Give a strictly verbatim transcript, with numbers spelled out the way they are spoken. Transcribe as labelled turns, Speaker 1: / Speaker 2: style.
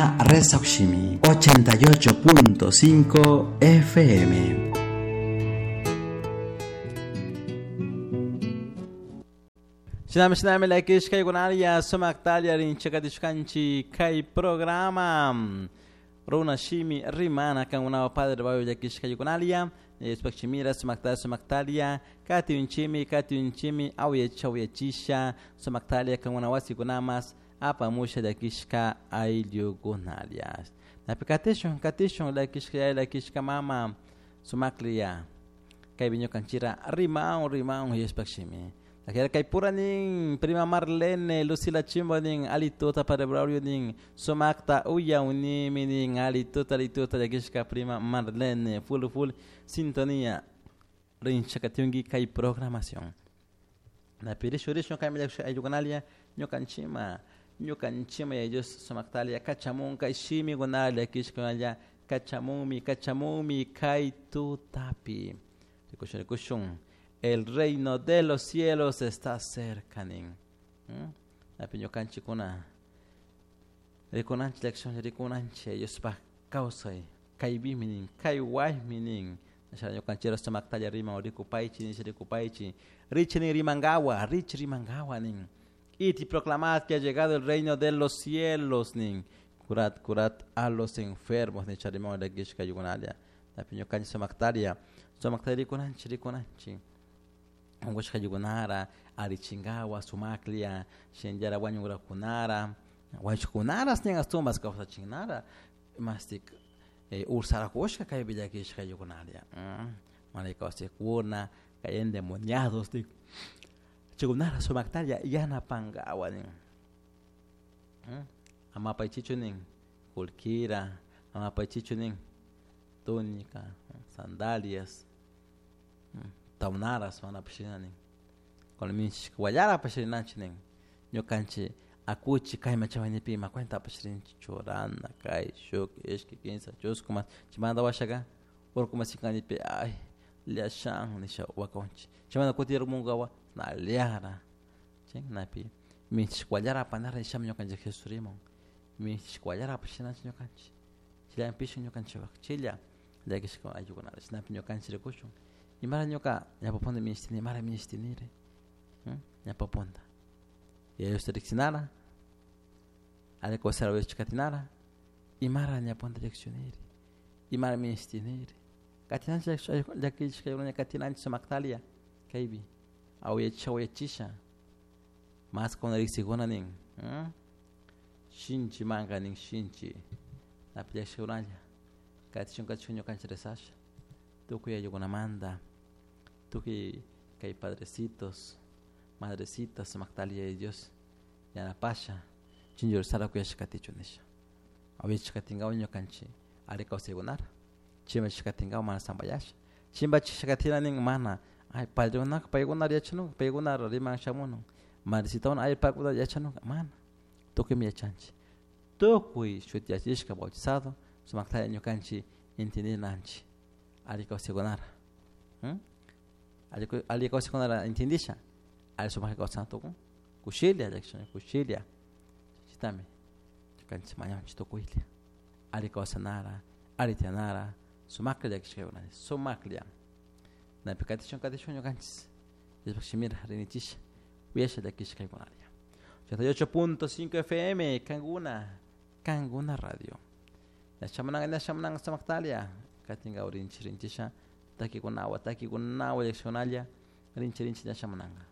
Speaker 1: Resoximi ochenta y ocho punto cinco F M.
Speaker 2: Shinami shinami lakishka yukunalia sumaktalia rinchakatishkanchi kay programa Runa Shimi Rimana kangunao Padre Bayo yakishka yukunalia Spakchimira sumaktalia sumaktalia katiunchimi katiunchimi awyecha awyechisha sumaktalia kangunawasi kunamas apamusha yakishka ayllukunalia. Napi katishun katishun lakishka lakishka mama sumaklia kay viñokanchira rimaun rimaun yespakshimi. Kay pura nin prima Marlene Lucila Chimbo nin alituta para Braulio nin sumakta uya unimi nin alituta alituta yakishka prima Marlene full full sintonía rinchakatiungi kay programación. Napi rishu rishu kay ayllukunalia ñukanchima ñukanchima ya Dios sumaktalia kachamun kay shimi gunalia kishkunalia kachamumi kachamumi kay tutapi. Rikushun rikushun. El reino de los cielos está cerca nin. Napi ñukanchikuna rikunanchik lección rikunanchik Diospaj kawsay kaybimi nin kay waymi nin nisha ñukanchira sumaktalla riman rikupaychi nisha rikupaychi richi nin rimangawa richi rimangawa nin id y proclamad que ha llegado el reino de los cielos nin curad curad a los enfermos nisha riman lakishka yukunalia napi ñukanchik sumaktaria sumaktalla rikunanchik rikunanchik unqushqa yukunara arichinkawa sumaklia shinllara wañurakunara wañushkunaras nin astumas kawsachinara mastik eh, ursarakushka kaypi llakishka yukunaria mana kawsaykuna kay endemoniados nin chaykunara sumaktalla yanapankawa nin amapaychichu nin kullkira amapaychichu nin túnica sandalias tawnaras mana pashirina nin cuando wallara pashirinanchik nin ñukanchik akuchi kayman chayman ima cuenta pashirinchik churana kay shuk ishki kinsa chusku mas chaymanta washaka urku masinkanipi ay llashan nisha wakunchik chaymanta kutirmunkawa naliara chaynapi minchik wallara apanara nishami ñukanchik Jesús rimun minchik wallara apashinanchik ñukanchik chayllapish ñukanchikpak chilla llakishka ayllukunata chaynapi ñukanchik rikushun imara ñuka ñapapunta minishtini imara minishtiniri ñapapunta Diosta riksinara alli kawsara katinara imara ñapunta llakishuniri imara minishtiniri katinanchik llakishka katinanchik sumaktalia kaypi awyachisha awyachisha mas kuna riksikuna nin shinchi manka nin shinchi napi llakishkunalla katishun katishun ñukanchik rezasha tukuy ayllukunamanta tukuy kay padrecitos madrecitas sumaktalia de Dios yanapasha chinchursara kuyasha katichu nisha awyachishka katinkawa ñukanchik alli kawsaykunara chimbachishka katinkawa mana sampayasha chimbachishka katina nin mana ay padrekunaka paykunara yachanunka paykunara riman shamunun madrecitakuna ay paykunara yachanunka mana tukuymi yachanchik tukuy shutiyachishka bautizado sumaktalla ñukanchik entendinanchik alli kawsaykunara alli kawsaykunara entendisha alli sumakta kawsana tukun kushilla llakishun kushilla chaytami ñukanchik mañanchik tukuylla alli kawsanara alli tiyanara sumaklla llakishkaykunani sumaklla napi katishun katishun ñukanchik Diospaj shimira rinichisha uyasha llakishkaykunalla ochenta y ocho punto cinco F M Kanguna Kanguna Radio ñashamunanka ñashamunanka sumaktalia katinka rinchi rinchisha takikunawa takikunawa llakishkunalla rinchi rinchi ñashamunanka.